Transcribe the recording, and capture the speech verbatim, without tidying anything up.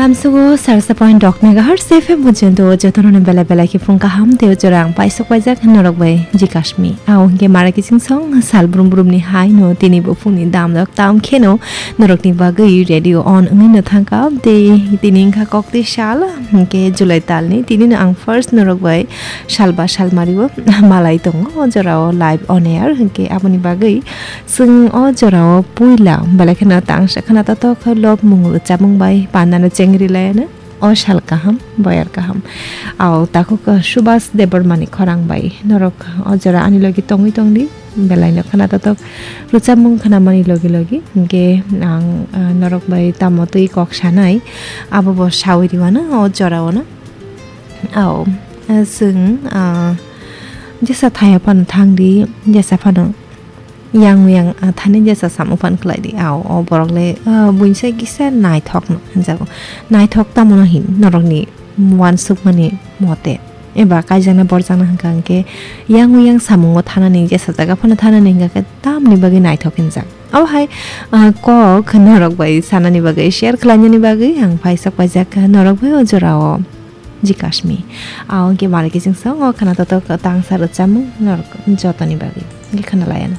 Lamsugo sarsa point dok megahertz F M pojjonto jotono belai belai khe phung kaham tei jora ang paisok paijak norok bai G Kashmi. Ao hwnkhe mara kiching song sal brum brum ni hai no tini bo phung ni dam dok tam kheno norok ni bagwi radio on wngwi no thangka tei tini wngkha kok tei sal hwnkhe July tal ni tini no ang first norok bai sal ba sal mari o malai tongo o jora o live on air hwnkhe aboni bagwi Chwng o jorao puila belai kheno tangsa khna totok khe lobmung rwchapmung bai pandano chengri laiano. O sal kaham, boyar kaham. Ao takhuk Subhas Debbarmani khorang bai norok o jora ani logi tongwi tongdi. Belaino khna totok rwchapmung khnamani logi logi. Hinkhe ang, ah, norok bai tamo twi kok sanai, abo bo sawi rwano o joraono. Ao, ah, chwng, ah, jesa thaya phano thangdi, jesa phano Yang yang, ah, thani jesa samung phan khlai di. Ao, o borok le, ah, buinsa kisa naithok no hinjago. Naithok tamo no hin norokni uansukmani mote. Eba kaijakna borjakna hwnkha hwnkhe yang yang samungo thanani jesa jaga phano thanani hwnkha khe tamni bagwi naithok hinjak. Abo hai, ah, kok norok bai sanani bagwi share khlainani bagwi ang paisok paijak norok bai o jorao. G Kashmi. Ao hwnkhe mara kiching song o khna totok tangsa rwchapmung norok jotoni bagwi. Hwnkhe khna laiano.